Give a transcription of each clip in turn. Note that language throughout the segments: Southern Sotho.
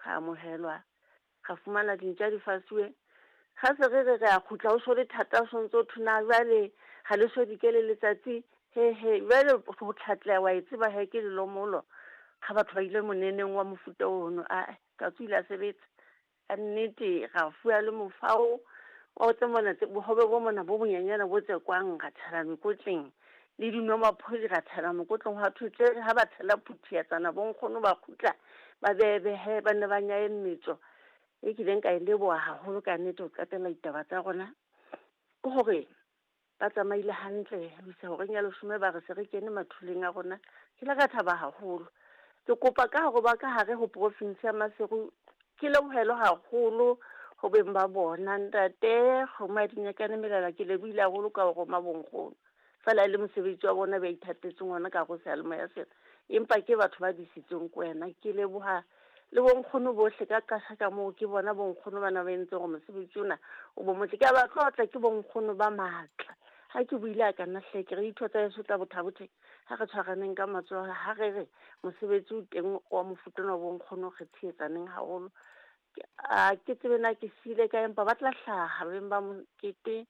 Ra amohelwa, ra fumana dintja di fasuwe. Ga se re re re a kgutla, o so le thata, o sontso o thwe na jwale ga le so dikele letsatsi. He he, jwale ho tlhatleha wa e tseba he ke lelomolo. Ga batho ba ile moneneng wa mofuta ono, ae, katso ile a sebetsa. Ka nnete ra fuwa le mofao wa tse mona tse bohobe bo mona bo bonyenyana bo tsekwang, ra tshela mekotleng le dinomaphodi ra tshela mokotleng. Hwa thwe tle ha ba tshela phuthiatsana bonkgono ba kgutla ba bebehe, ba nne ba nyaye mmetso. E kileng ka e leboha haholo ka nnete ho qetella ditaba tsa rona ke hore ba tsamaile hantle ho isa horeng ya leshome, ba re se re kene mathuleng a rona. Ke ile ka thaba haholo. Ke kopa ka hore ba ka hare ho profinsi ya Maseru ke lebohelwe haholo ho beng ba bona. Ntate Kgomo ya Dinyakane Melala, ke lebohile haholo ka ho roma bonkgono. Feela e le mosebetsi wa bona ba ithatetseng ona ka hare ho seyalemoya sena, empa ke batho ba disitsweng ke wena. Ke leboha le bonkgono bohle ka qasha ka moo, ke bona bonkgono bana ba entseng hore mosebetsi ona o bo motle. Ke a ba tlotla, ke bonkgono ba matla. Ha ke buile a ka nna hle, ke re ditho tsa heso tsa Botha-Bothe, ha re tshwaraneng ka matsoho, ha re re mosebetsi o teng wa mofuta ona wa bonkgono, re tshehetsaneng haholo. A ke tsebe na ke siile kae, empa ba tla hlaha beng ba mokete,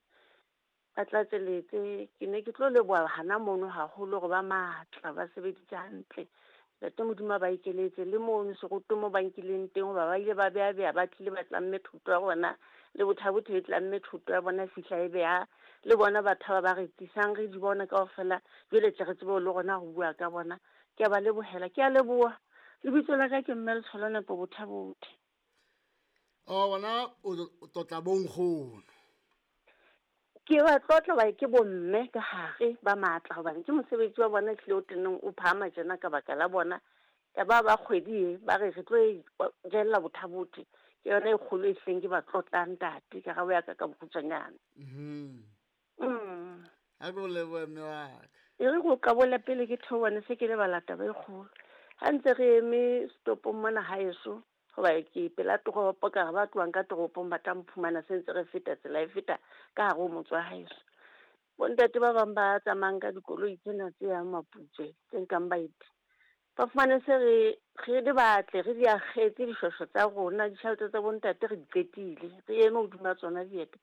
ba tlatseletse. Ke ne ke tlo leboha hana mono haholo hore ba matla, ba sebeditse hantle. Ntate Modimo a ba ekeletse le mono seroto mo ba nkileng teng, hoba ba ile ba beha-beha, ba tlile ba tlamme thuto ya bona le Botha-Bothe e tlamme thuto ya bona, e fihla e beha le bona batho ba ba re tlisang re di bona kaofela. Jwale tle re tsebe le rona ho bua ka bona. Ke a ba lebohela, ke a leboha. Lebitso la ka ke Mme Letsholo Nepo Botha-Bothe. O bona o tlotla bonkgono. Ke ba tlotla hoba ke bomme ka hare ba matla, hobane ke mosebetsi wa bona ehlile o tenneng o phahama tjena ka baka la bona. Ya ba ba kgwedi e ba re re tlo e jella Botha-Bothe, ke yona e kgolo e hleng ke ba tlotlang ntate. Karabo ya ka ka bokgutshwanyane. Ha ke o lebohe mme wa ka. E re ko qabole pele ke theohane se ke lebala taba e kgolo. Ha ntse re eme stopong mona haeso, hoba ke pela toropo, ka re ba tlohang ka toropong ba tla mphumana se ntse re feta tsela e feta ka hare ho motse wa haeso. Bontate ba bang ba tsamayang ka dikoloi tsena tse yang Maputswe, tse nkang baeti, ba fumane se re re le batle re di akgetse dishweshwe tsa rona, ditjhelete tsa bontate re di qetile, re eme hodima tsona dieta.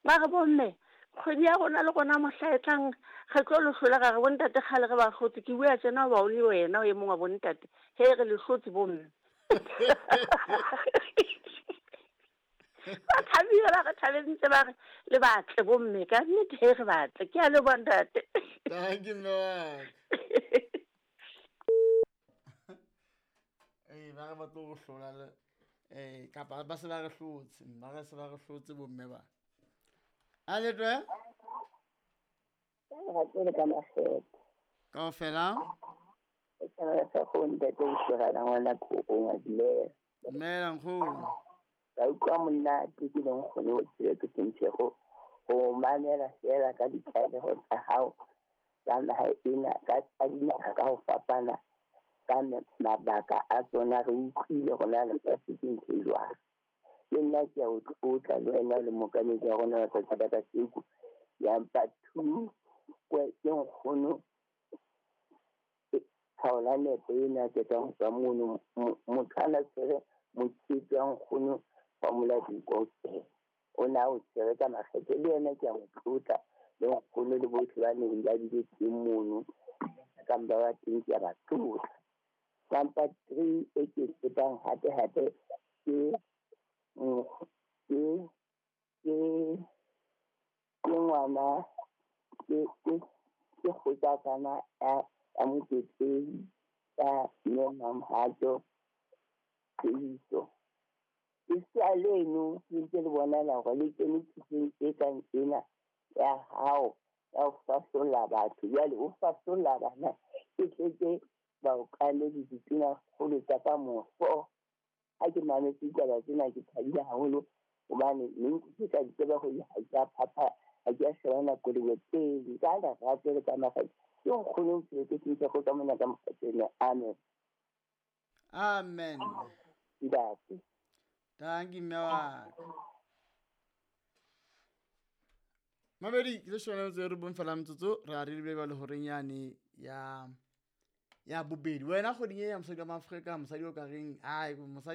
Ba re bomme, kgwedi ya rona le rona mohla e tlang re tlo le hlola. Ra re bontate kgale re ba hlotse. Ke bua tjena hoba o le wena o e mong wa bontate. He re le hlotse bomme. Ba thabile, ba re thabentse, ba re le batle bomme ka nnete, he re batle. Ke a leboha ntate. Thank you mme wa ka. Ee, ba re ba tlo go hlola le kapa ba se ba re hlotse, ba re se ba re hlotse bomme ba. A le twe? Ga le ka makgetho. Kaofela? E tshwana sa go ntate o shegana ngwana kgokong a dumela. Dumela nkgono. Ka utlwa monate ke leng kgone ho tsebe ke sentshego go mamela fela ka ditlaleho tsa hao tsa naha ena ka tsa dinaha ka ho fapana ka mabaka a tsona. Re utlwile gona lefatshe ke ntho e jwang. Le nna ke a o tlotla le wena le mookamedi wa rona wa tsatsi la kasheko. Ya mpa two ke nkgono Thaola Nepo ena ke tswang ho tswa mono, motho a na tshwere mokete wa nkgono wa Moladiko o ne a o tshwere ka makgethe, le yena ke a mo tlotla le nkgono le bohle ba neng ba bile teng mono kang ba ba teng, ke a ba tlotla. Number three e ke tsebang hape hape ke ke ke ke ngwana ke ke ke kgotsakana ya Moketeng ya Mme Mamhato Peiso. Lesea leno le ntse le bonahala hore le kene thutong e kang ena ya hao ya ho fahlolla batho. Jwale o fahlolla bana e tletse baokamedi ditonakgolo tsa ka moso. Ha ke mametse ditaba tsena ke thabile haholo hobane ne nkutlwe ka di tseba hore ha ke a phapha, ha ke a shebana kolobe pele ka lerato le ka makgethe. Ke nkgono o tswetse ke ntse go ka mona ka mokgatsene. Amen. Amen. Ntate. Thank you mme wa ka. Mabedi ke le shona tse re bong fela metsotso re a re lebile le horeng yane ya bobedi. Wena kgweding e ya mosadi wa Maafrika, mosadi o ka reng ai mosadi